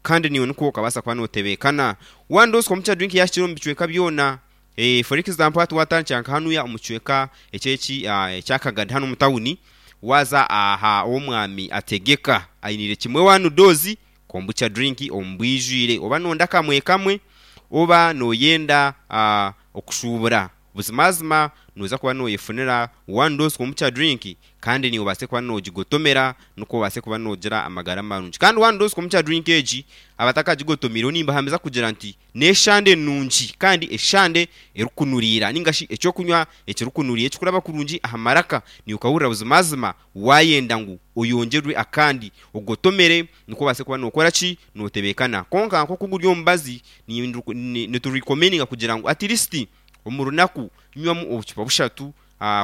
Kandi naiwe nikwo okabaasa kuba nootebeekana. One Dose Kombucha Drink yaahikire omu bicweka byona. For example hati waatandikira nka hanuya omu kicweka eky'eki ekya Kagadi hanu omu tawuni, waaza aha ow'omwami Ategeka ainiire kimwe One Dose Kombucha Drink omu bwijwire. Oba nooyenda kamwe kamwe, oba nooyenda okushuubura. Buzimazima noza kuba noyefunira one dose kombucha drink kandi naiwe obaase kuba nogigotomera nikwo obaase kuba nogira amagara marungi. Kandi one dose kombucha drink egi abatakagigotomeireho nimbahamiza kugira nti neshande nungi kandi eshande erikunuriira ninga shi ekyokunywa ekirikunuriira ekikuraba kurungi aha maraka naiwe okahurira buzimazima wayenda ngu oyongyerwe akandi ogotomere nikwo obaase kuba nokora ki? Notebekana. Kwonka nkoku guri omubazi nitu recommendinga kugira ngu at least Omu runaku nywamu obucupa bushatu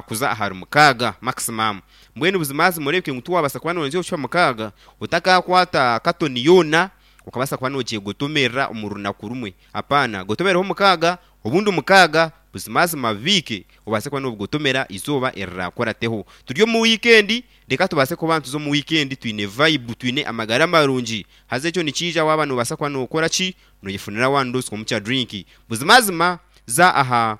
kuza ahari mukaaga maximum. Mbwenu buzimazima oreebeke ngu tiwabaasa kuba noorenzya obucupa mukaaga otakaakwata katoni yoona okabaasa kuba noogyegotomerera omu runaku rumwe. Apaana, gotomereho mukaaga obundi mukaaga buzimazima bibiike obaase kuba noobigotomera eizooba eriraakurateho. Turi omu wiikendi, reka tubaase kuba nituza omu wiikendi twine vibe, twine amagara marungi. Haza ekyo nikiija waaba noobaasa kuba nookora ki? Noyefunira one dose kombucha drink. Buzimazima za aha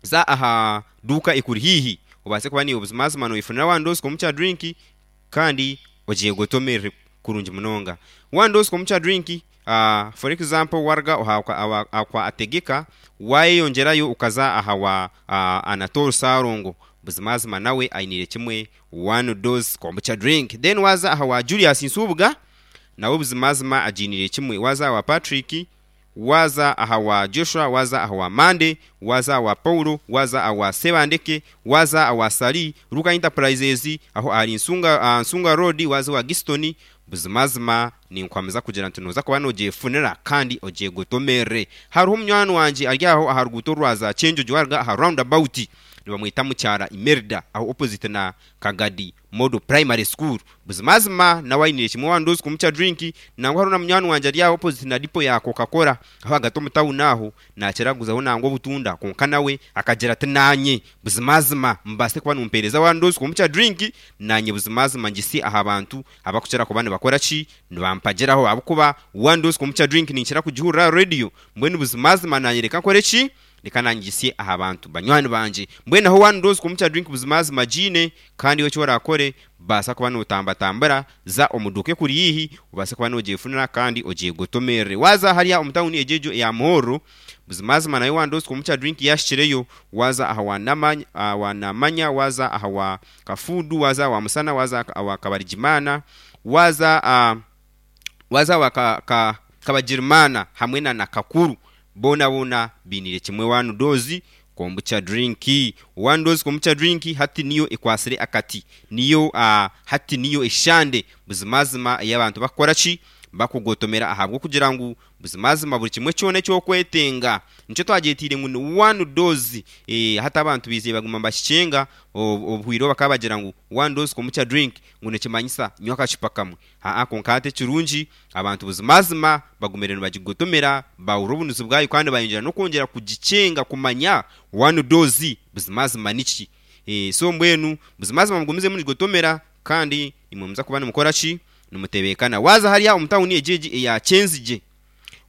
za aha duuka ekuri haihi obaase kuba naiwe buzimazima noyefunira one dose kombucha drink kandi ogyegotomerere kurungi munonga. One dose kombucha drink for example waruga aha kwa Ategeka wayeyongyerayo okaza aha wa Anatole Ssalongo buzimazima nawe ainiire kimwe one dose kombucha drink. Then waza aha wa Julius Nsubuga Nawe buzimazima agiiniire kimwe. Waaza aha wa Patrick, waaza aha wa Joshua, waaza aha wa Monday, waaza aha wa Paulo, waaza aha wa Sebandeke, waaza aha wa Sally, Luka Enterprises, aho ahari Nsunga, aha Nsunga Road, waaza owa Giston, buzimazima ninkuhamiza kugira nti nooza kuba noogyefunira kandi ogyegotomerere. Hariho munywani wangye ari aho aha ruguuto orwaza Kyenjojo waaruga aha round about, nibamweta Mukyara Imelda, aho opposite na Kagadi Model Primary School. Buzimazima nawe ainiire kimwe one dose kombucha drink. Nangwa hariho na munywani wangye ari aho opposite na depot ya Coca Cola aho ahagati omu town aho nakira kuguzaho nangwa obutunda kwonka nawe akagira ati nanye buzimazima mubaase kuba nimumpereza one dose kombucha drink nanye buzimazima ngise aha bantu abakukira kuba nibakora ki nibampagiraho ahabw'okuba one dose kombucha drink ninkira kugihurira aha radio mbwenu buzimazima nanye reka nkore ki Reka nangitsye aha bantu banywani bangye. Mbwenu aho waanura kombucha drink buzimazima giine, kandi iwe eki oraakore, baasa kuba nootambatambura, za omu duuka ekuri haihi, obaase kuba noogyefunira kandi ogyegotomerere. Waaza hariya omu tauni egyo egyo eya Muhorro, buzimazima nayo waanura kombucha drink yaahikireyo, waaza aha wa wa Namanya, waaza aha wa Kafuudu, waaza aha wa Musana, waaza aha wa Kabarigimana, waaza waaza aha wa Ka, Ka, Kabagirimaana hamwe na na Kakuru. Boonaboona bainiire kimwe one dose kombucha drink. One dose kombucha drink hati niyo ekwatsire akati, niyo hati niyo eshande buzimazima ei abantu bakukora ki? Bakugotomera ahabw'okugira ngu buzimazima buri kimwe kyona eki orikwetenga nikyo twagyetiire ngu ni one dose. Hati abantu baizire baguma nibakikyenga, obuhwire obu bakaba bagira ngu one dose kombucha drink ngu nikimanyisa nywa akacupa kamwe. Aa kwonka hati ekirungi, abantu buzimazima bagumire nibagigotomera, baahurira obunuzi bwayo kandi bayongyera n'okwongyera kugikyenga kumanya one dose buzimazima niki. So mbwenu buzimazima mugumizemu nigigotomera kandi imwe muza kuba nimukora ki? Nimutebeekana. Waaza hariya omu tawuni egyo egi eya Kyenzigye,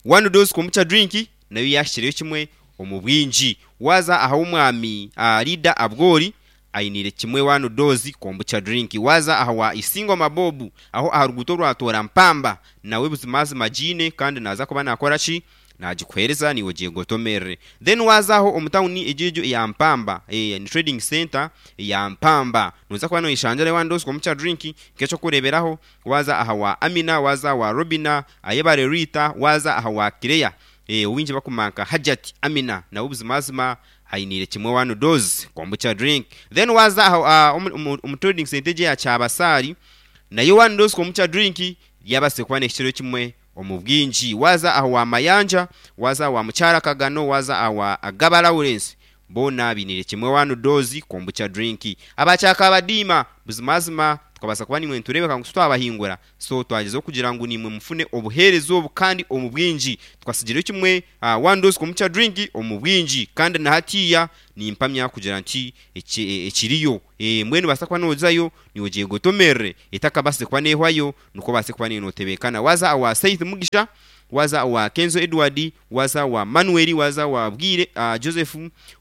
one dose kombucha drink nayo yaahikireyo kimwe omu bwingi. Waaza aha w'omwami Leader Abwori, Ainiire kimwe one dose kombucha drink. Waaza aha wa Isingoma Bob aho aha ruguuto orwa Toora Mpamba nawe buzimazima agiine kandi naaza kuba naakora ki? Naagikuheereza naiwe ogyegotomerere. Then waaza aho omu tawuni egyo egyo eya Mpamba ni trading centre eya Mpamba nooza kuba nooyeshangyerayo one dose kombucha drink nk'eky'okureeberaho waaza aha wa Amina, waaza aha wa Robina, Ayebare Rita, waaza aha wa Claire ou baingi bakumanya nka Hajjat Amina nawe buzimazima Ainiire kimwe one dose kombucha drink then waaza aha omu trading centre egyo eya Kyabasaari nayo one dose kombucha drink yabaasire kuba nehikirayo kimwe omu bwingi. Waaza aha wa Mayanja, waaza aha wa Mukyara Kagano, waaza aha wa Agaba Lawrence boona bainiire kimwe one dose kombucha drink. Aba Kyakabadiima buzimazima. Tukabaasa kuba naimwe nitureebeka ngu titwabahingura, so twagyezaho kugira ngu naimwe mufune obuheereza obu kandi omu bwingi. Tukatsigireyo kimwe one dose kombucha drink omu bwingi kandi na hatiiya nimpamya kugira nti ekiriyo. Mbwenu nobaasa kuba nozayo naiwe ogyegotomerere etakabaasize kuba nehwayo nikwo obaase kuba naiwe notebeekana. Waaza owa Saith Mugisha, waaza owa Kenzo Edward, waaza owa Manuel, waaza owa Bwire Joseph,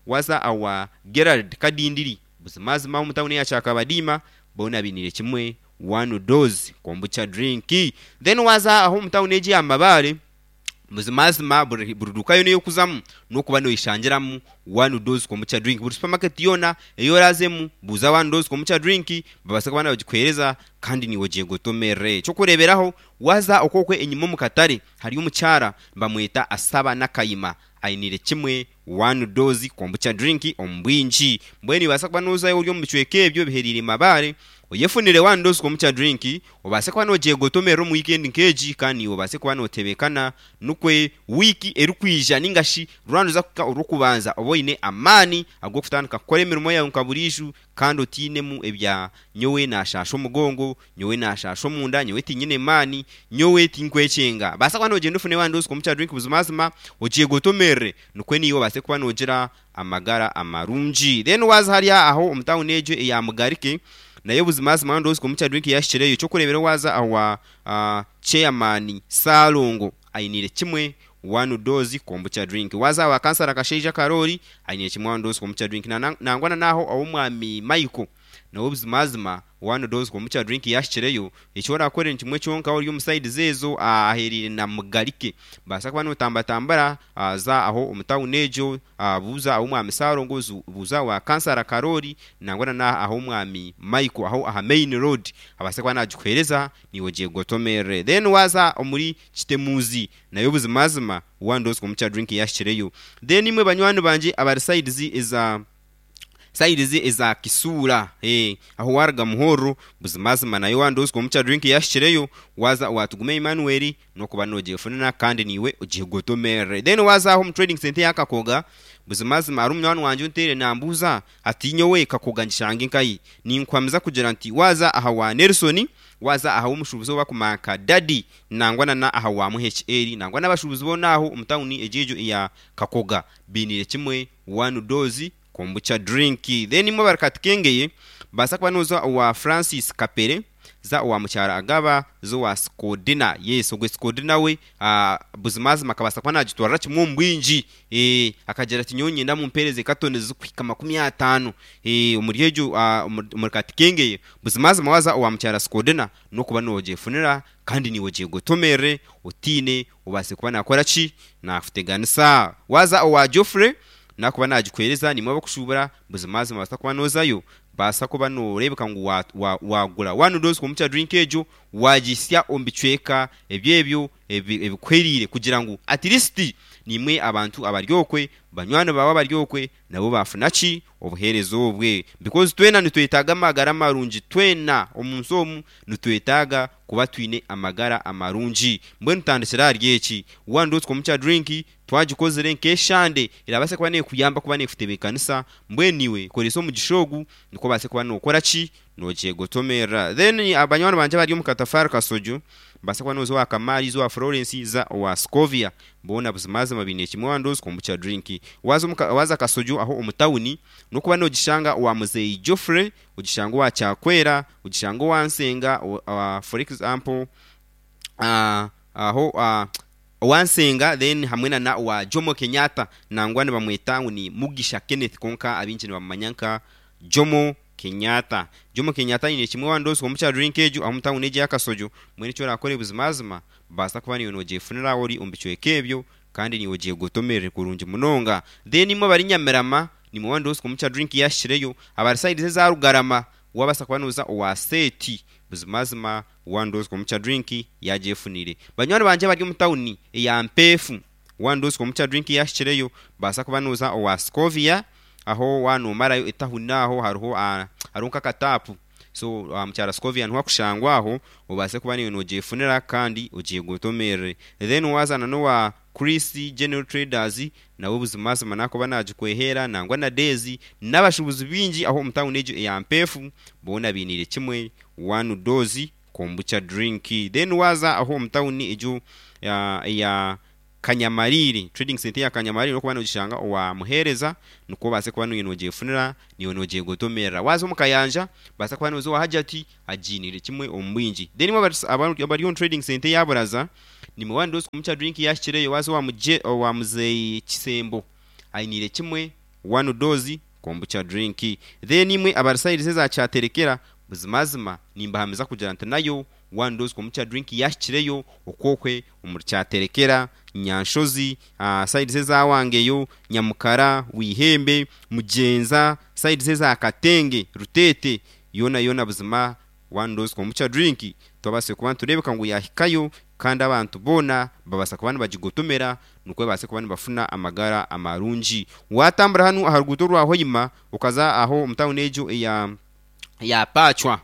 waaza owa Gerald Kadindiri. Buzimazima omu tawuni eya Kyakabadiima boona bainiire kimwe one dose kombucha drink. Then waaza aho omu tawuni egi eya Mabaare, buzimazima buri buri duuka yoona ei orikuzamu n'okuba noyeshangiramu one dose kombucha drink. Buri supermarket yoona ei oraazemu buuza one dose kombucha drink babaase kuba nibagikuheereza kandi naiwe ogyegotomerere. Eky'okureeberaho waaza okwo enyima omu katare hariyo omukyara nibamweta Asaba Nakayima ainiire kimwe One dose kombucha drink omu bwingi. Mbwenu nobaasa kuba nozayo ori omu bicweka ebyo ebihereire Mabaare, oyefunire one dose kombucha drink, obaase kuba nogyegotomerera omu weekend nk'egi kandi naiwe obaase kuba notebekana nikwe wiiki erikwija ninga shi rwaruza kuhika orw'okubanza obe oine amaani ag'okutandika kukora emirimo yaawe nka buriijo kandi otiinemu ebya nyowe naashaasha omugongo, nyowe naashaasha omunda, nyowe tinyine maani, nyowe tinkwekyenga. Baasa kuba noogyenda ofune wandi kombucha drink buzimazima ogyegotomerere nikwo naiwe obaase kuba noogira amagara amarungi. Then waaza hariya aho omu tawuni egyo eya Mugarike, nayo buzimazima wandi kombucha drink yaahikireyo. Eky'okureeberaho waaza awa chairman Ssalongo ainiire kimwe One dose kombucha drink. Waaza awa kansara Kashaija Karoori aine kimwe one dose kombucha drink. Nangwa na n'aho ow'omwami Michael nawe buzimazima one dose kombucha drink yaahikireyo. Eki oraakore ni kimwe kyonka ori omu sides ezo ahahereire na Mugarike. Baasa kuba nootambatambura za aho omu tawuni egyo buuza ah'omwami Ssalongo, buuza awa kansara Karoori nangwa na n'ah'omwami Michael aho aha main road abaase kuba naagikuheereza naiwe ogyegotomerere. Then waaza omuri Kitemuzi nayo buzimazima one dose kombucha drink yahikireyo. Then imwe banywani bangye abari sides eza sides eza Kisuura eh aho waruga Muhorro buzimazima nayo one dose kombucha drink yahikireyo waza owa Tugume Emmanuel nokuba nogyefunira kandi niiwe ogyegotomerere. Then waza aho omu trading centre eya Kakoga buzimazima hariho munywani wangye onteire nambuuza ati nyowe Kakoga ngishange nkahi? Ninkuhamiza kugira nti waza aha wa Nelson Waaza aha w'omushuubuzi ou barikumanya nka Daddy nangwa na na aha wa MHL nangwa n'abashuubuzi boona aho omu tawuni egyo egyo eya Kakoga bainiire kimwe one dose kombucha drink. Then imwe abari Katikengeye baasa kuba nooza owa Francis Kapere, za owa Mukyara Agaba, za owa Sikodina. Yes ogwe Sikodina we buzimazima akabaasa kuba naagitwarira kimwe omu bwingi. Akagira ati nyowe niinyenda mumpeereze katoni zirikuhika 50 omuri egyo omuri Katikengeye. Buzimazima waaza owa mukyara Sikodina n'okuba noogyefunira kandi naiwe ogyegotomerere otiine obaase kuba naakora ki? Naakuteganisa. Waaza owa Geoffrey naakuba naagikuheereza naimwe abakushuubura buzimazima noobaasa kuba noozayo baasa kuba nooreebeka ngu waagura one dose kombucha drink egyo waagihitsya omu bicweka ebyo ebyo ebikuhwereire kugira ngu at least naimwe abantu abari okwe, banywani baawe abari okwe nabo baafuna ki? Obuheereza obwe. Because twena nitwetaaga amagara marungi, twena omu nsi omu nitwetaaga kuba twine amagara amarungi. Mbwenu tutandikire ahari eki, one dose komukya drink twagikozire nk'eshande erabaasa kuba neekuyamba kuba neekutebeekanisa, mbwenu iwe koresa omugisha ogu nikwo obaase kuba nookora ki? Noogyegotomerera. Then banywani bangye abari omu Katafaari Kasojo, Nibaasa kuba nooza owa Kamari, za owa Florence, za owa Scovia. Boona buzimazima baine kimwe wandozi kombucha drink. Waaza omu waaza Kasojo aho omu tawuni, n'okuba noogishanga owa Muzeeyi Geoffrey, ogishanga owa Kyakwera, ogishanga owa Nsenga, for example, aho owa Nsenga then hamwe na na owa Jomo Kenyatta nangwa nibamweta ngu ni Mugisha Kenneth kwonka abaingi nibamumanya nka Jomo Kenyatta. Jomo Kenyatta aine kimwe wandozi kombucha drink egyo ahu omu tawuni egyo eya Kasojo. Mbwenu eki orakore buzimazima baasa kuba naiwe nogyefunira ori omu bicweka ebyo kandi naiwe ogyegotomerere kurungi munonga. Then imwe abari Nyamirama nimwe wandozi kombucha drink yahikireyo. Abari sides eza Rugarama wabaasa kuba noza owa Seeti buzimazima wandozi kombucha drink yagyefunire. Banywani bangye abari omu tawuni eya Mpeefu wandozi kombucha drink yahikireyo baasa kuba noza owa Scovia aho waaba noomarayo etahuni aho hariho hariho nk'akataapu. So mukyara Scovia niho akushangwa aho obaase kuba naiwe nogyefunira kandi ogyegotomerere. Then waaza na n'owa Chris General Traders nawe buzimazima nakuba nagikweheera nangwa na Daisy n'abashuubuzi baingi aho omu tawuni egyo eya Mpeefu boona bainiire kimwe one dose kombucha drink. Then waaza aho omu tawuni egyo eya Kanyamariiri, Trading Centre eya Kanyamariiri orikuba nogishanga owa Muheereza nikwo obaase kuba naiwe nogyefunira naiwe nogyegotomerera. Waaza omu Kayanja obaasa kuba nooza owa Hajjati agiiniire kimwe omu bwingi. Then imwe abari omu Trading Centre eya Buraza nimwe one dose kombucha drink yaahikireyo waaza owa Muzeeyi Kisembo ainiire kimwe one dose kombucha drink. Then imwe abari sayidi eza Kyaterekera buzimazima nimbahamiza kugira nti nayo One dose kombucha drink yahikireyo okwokwe omuri Kyaterekera, Nyanshozi, sides eza Wangeyo, Nyamukara, Wihembe, Mugyenza, sides eza Katenge, Ruteete, yoona yoona buzima one dose kombucha drink twabaasire kuba nitureebeka ngu yahikayo kandi abantu boona babaasa kuba nibagigotomera nikwo babaase kuba nibafuna amagara amarungi. Waatambura hanu aha ruguuto orwa Hoima okaza aho omu tawuni egyo eya Pacwa,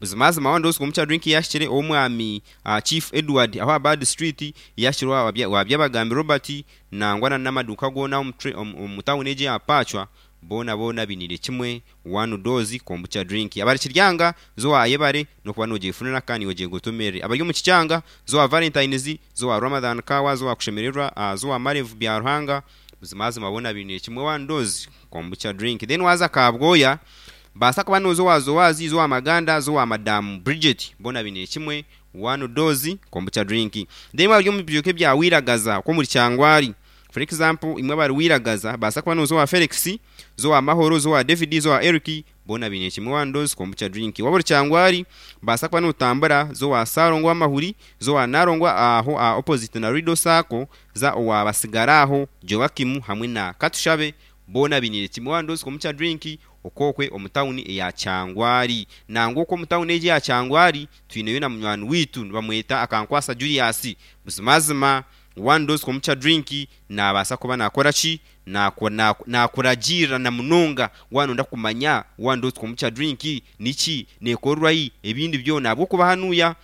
Buzimazima one dose kombucha drink yahikire ow'omwami Chief Edward aho aha Bad Street, yahikire owa Byabagambi Robert nangwa na n'amaduuka goona omu tawuni egyo eya Pacwa boona boona bainiire kimwe one dose kombucha drink. Abari Kiryanga za owa Ayebare n'okuba nogyefunira kandi niiwe ogyegotomerere. Abari omu Kikyanga za owa Valentines, za owa Ramadhan Kawa, za owa Kushemererwa, za owa Marevu Byaruhanga buzimazima boona bainiire kimwe one dose kombucha drink. Then waaza Kabwoya Baasa kuba nooza owa Zoazi, za owa Maganda, za owa Madamu Bridget, boona baine kimwe, one dose, kombucha drink. Then imwe abari omu bicweka ebya Wiragaza, okwo omuri Kyangwari, for example, imwe abari Wiragaza, baasa kuba nooza owa Felix, za owa Mahoro, za owa David, za owa Eric, boona baine kimwe, one dose, kombucha drink. Waaba ori Kyangwari, baasa kuba nootambura, za owa Ssalongo Wamahuri, za owa Nalongo aho aha opposite na Rido Sacco, za owa Basigaraho Joachim hamwe na Katushabe, Boona bainiire kimwe one dose kombucha drink okwokwe omu tawuni eya Kyangwari. Nangwa okwo omu tawuni egyo eya Kyangwari twineyo na munywani waitu nibamweta Akankwasa Julius. Buzimazima one dose kombucha drink nabaasa kuba nakora ki? Nakuragiirira na munonga waaba noyenda kumanya one dose kombucha drink niki, nekorwa hi, ebindi byona ahabw'okuba hanuya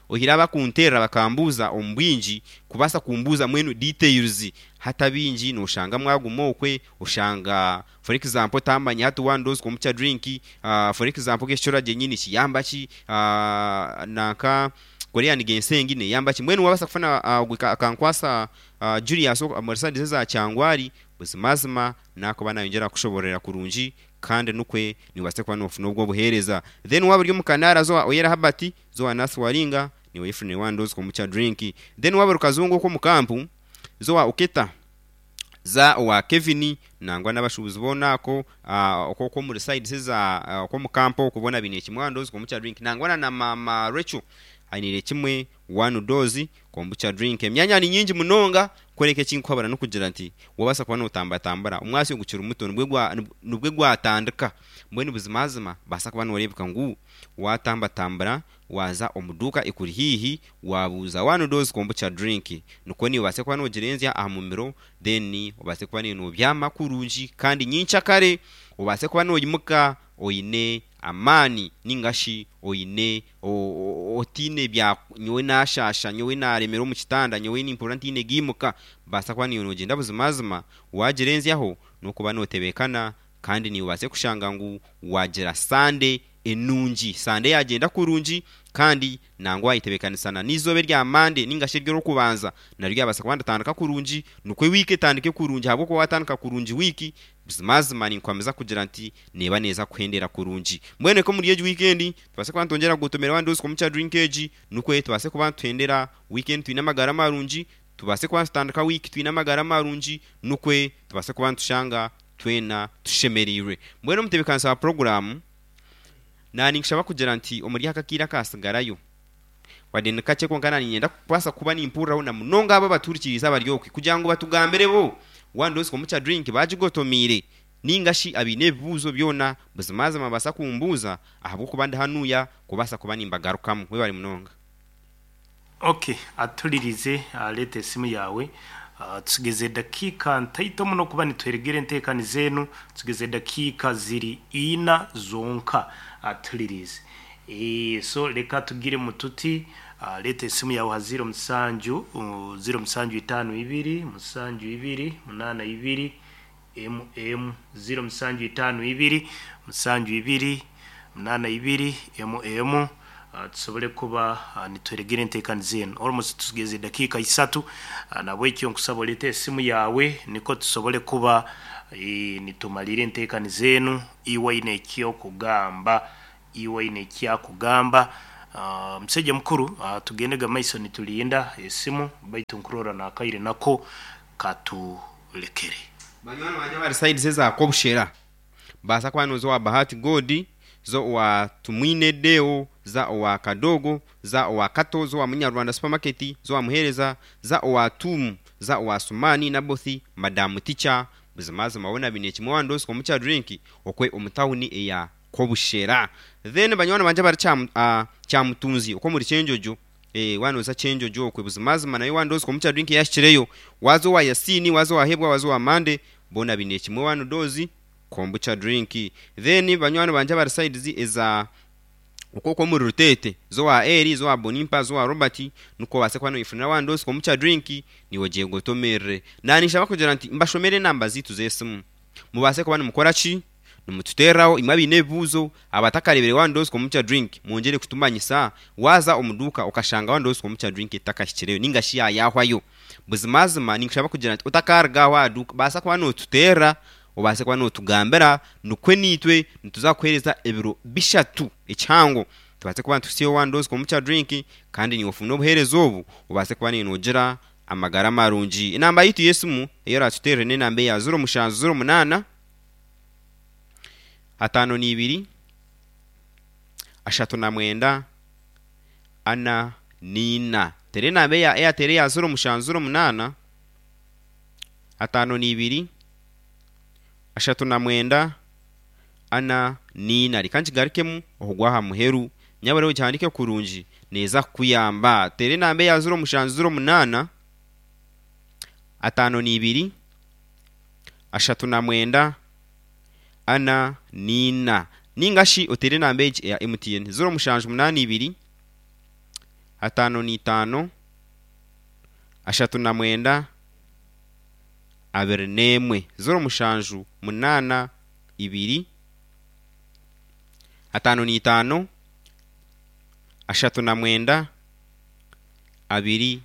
Oihireho abakunteerera bakambuuza omu bwingi kubaasa kumbuuza mbwenu details hati abaingi noshanga mwaguma okwe oshanga for example otamanya hati one dose kombucha drink for example nk'ekicura gyenyini nikiyamba ki nanka Korean ginseng neyamba ki mbwenu wabaasa kufuna ogwe Akankwasa Julius omuri side eza Kyangwari buzimazima nakuba nayongyera kukushobororera kurungi Kandi nukwe niiwe obaase kuba noofuna obwo obuheereza. Then waaba ori omu Kanaara zo Oyera Herbert, zo wa Nurse Waringa, niiwe oyefunire one dose kombucha drink. Then waaba ori Kazungu okwo omu kampu, zo wa Oketa, za owa Kevin, nangwa n'abashuubuzi boona ako okwo okwo omuri sides eza okwo omu kampu okwo boona bainiire kimwe one dose kombucha drink. Nangwa na na maama Rachel ainiire kimwe one dose Kombucha drink. Emyanya ni nyingi munonga kworeka eki nkuhabura n'okugira nti wabaasa kuba notambatambura omwasyo ogu gukiri muto nibwe gwatandika mbwenu buzimazima baasa kuba noreebeka ngu watambatambura waaza omu duuka ekuri haihi wabuuza one dose kombucha drink nikwo naiwe obaase kuba nogirenzya aha mumiro then obaase kuba naiwe nobyama kurungi kandi nyenkyakare obaase kuba noyimuka oine amaani ninga shi oine otaine bya nyowe naashaasha, nyowe naaremera omu kitanda, nyowe nimpurira ntaine giimuka, baasa kuba naiwe noogyenda buzimazima waagirenzyaho n'okuba nootebeekana kandi naiwe obaase kushanga ngu waagira Sande enungi. Sande yaagyenda kurungi kandi nangwa waayetebeekanisa na n'eizooba erya Mande nainga shi ery'Orwokubanza naryo ryabaasa kuba niritandika kurungi nikwo wiiki etandike kurungi ahabw'okuba waatandika kurungi wiiki, buzimazima ninkuhamiza kugira nti neeba neeza kuhendera kurungi. Mbwenu reka omuri egi wiikendi tubaase kuba nitwongyera kugotomera abandi oziko omu drink egi nikwo tubaase kuba nituhendera wiikendi twine amagara marungi, tubaase kuba nitutandika wiiki twine amagara marungi nikwo tubaase kuba nitushanga twena tushemereirwe. Mbwenu omutebeekanisa wa puroguraamu naaninkushaba kugira nti omuri aka akaire akaatsigarayo wadde ni kakye kwonka naaniinyenda kubaasa kuba nimpuriraho na munonga abo abatuhurikiriize abari okwe kugira ngu batugambire bo waaba oziko omu drink baagigotomeire. Nainga shi abaine ebibuuzo byona, buzimazima nibabaasa kumbuuza ahabw'okuba ndi hanuya kubaasa kuba nimbagarukamu. Webare munonga. Ok, aturirize reeta esimu yaawe. Tutsigaze edakiika ntaito muno kuba nituheregera enteekaniza enu. Tutsigaze edakiika ziri ina zonka. Atulirize. Eeh so leka tugiremu tuti leeta esimu yaawe aha ziiro musanju, ziiro musanju itaano ibiri, musanju ibiri, munaana ibiri, emu emu, ziiro musanju itaano ibiri, musanju ibiri, munaana ibiri, emu emu, tusobole kuba nituheregera enteekaniza enu. Almost tusigaize edakiika isatu, nahabwekyo nkusaba oleete esimu yaawe nikwo tusobole kuba nitumaliira enteekaniza enu iwe oine eky'okugamba. Iwe oine eki akugamba. Omusaija mukuru tugendege mumaiso nitulinda esimu baitu nkurora nakaire nako katulekere. Banywani bangye abari sides eza Kobushera baasa kuba nooza owa Bahati God, za owa Tumwine Deo, za owa Kadogo, za owa Kato, za owa Munyarwanda Supermarket, za owa Muhereza, za owa Tuumu, za owa Sumani, Nabothi, Madamu Ticha, buzimazima boona baine kimwe wandoosika omu drink okwe omu tawuni eya Kobushera. Then banywani bangye abari Kyamutunzi okwo omuri Kyenjojo, eh waaba nooza Kyenjojo okwe buzimazima nayo wandoosika omu drink eyahikireyo, waaza owa Yasiini, waaza owa Hebwa, waaza owa Mande, boona baine kimwe one dose kombucha drink. Then banywani bangye abari sides eza okwo okwo omuri Ruteete, za owa Eli, za owa Bonimpa, za owa Robert, nikwo obaase kuba noyefunira one dose kombucha drink, naiwe ogyegotomerere. Naninshaba kugira nti mbashomere enamba zaitu z'esimu mubaase kuba nimukora ki? Nimututeereraho imwe abaine ebibuuzo, abatakareebire One Dose Kombucha Drink, mwongyere kutumanyisa. Waaza omu duuka okashanga One Dose Kombucha Drink etakahikireyo nainga shi yaayahwayo, buzimazima ninkushaba kugira nti otakaaruga aho aha duuka, baasa kuba nootuteerera, obaase kuba nootugambira, nikwo naitwe nituza kukuheereza ebiro bishatu ekihango tubaase kuba nituhitsyayo One Dose Kombucha Drink kandi naiwe ofune obuheereza obu, obaase kuba naiwe noogira amagara marungi. Enamba yaitu y'esimu ei oraatuteerere n'enamba eya ziro mushanju ziro munaana. Ataano na ibiri, ashatu na mwenda, ana na ina. Teera enamba eya Airtel eya ziro mushanju ziro munaana, ataano na ibiri, ashatu na mwenda, ana na ina. Reka nkigarukemu okugwa aha muheru. Nyabura ogihandiike kurungi neeza kukuyamba. Teera enamba eya ziro mushanju ziro munaana, ataano na ibiri, ashatu na mwenda, ana na ina. Nainga shi oteere enamba egi eya MTN, 0782 55 39 21. 0782 55 39 21.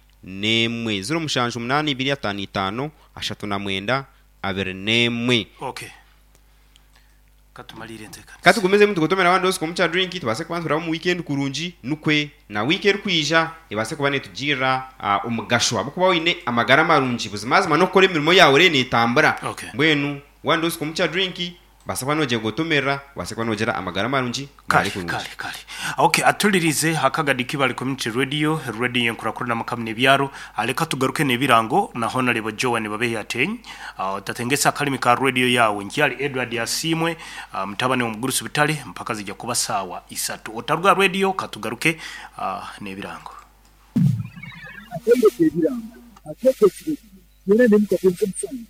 0782 55 39 21. Okay. Katumalire enteekanisa. Katugumizemu nitugotomera one dose komukya drink tubaase kuba nituraba omu weekend kurungi nukwe na wiiki erikwija ebaase kuba netugirira omugasho ahabw'okuba oine amagara marungi buzimazima n'okukora emirimo yaawe eriyo netambura. Okay. Mbwenu one dose komukya drink Obaase kuba noogyegotomerera, obaase kuba noogira amagara marungi Kare, gari kurungi. kare, kare. Ok, atulirize akagadi Kibale Community Radio, radio y'enkurakurana amaka n'ebyaro. Leka tugaruke n'ebirango na Honarebo Joan Babehi Ateny. Otatengesa akalimi ka radio yaawe. Nkyari Edward Asiimwe, mutabani w'omugurusi Butare, mpaka zija kuba saawa isatu. Otaruga aha radio, katugaruke n'ebirango. Akaire k'ebirango akeekesire gye, byona n'emikago nk'omusango.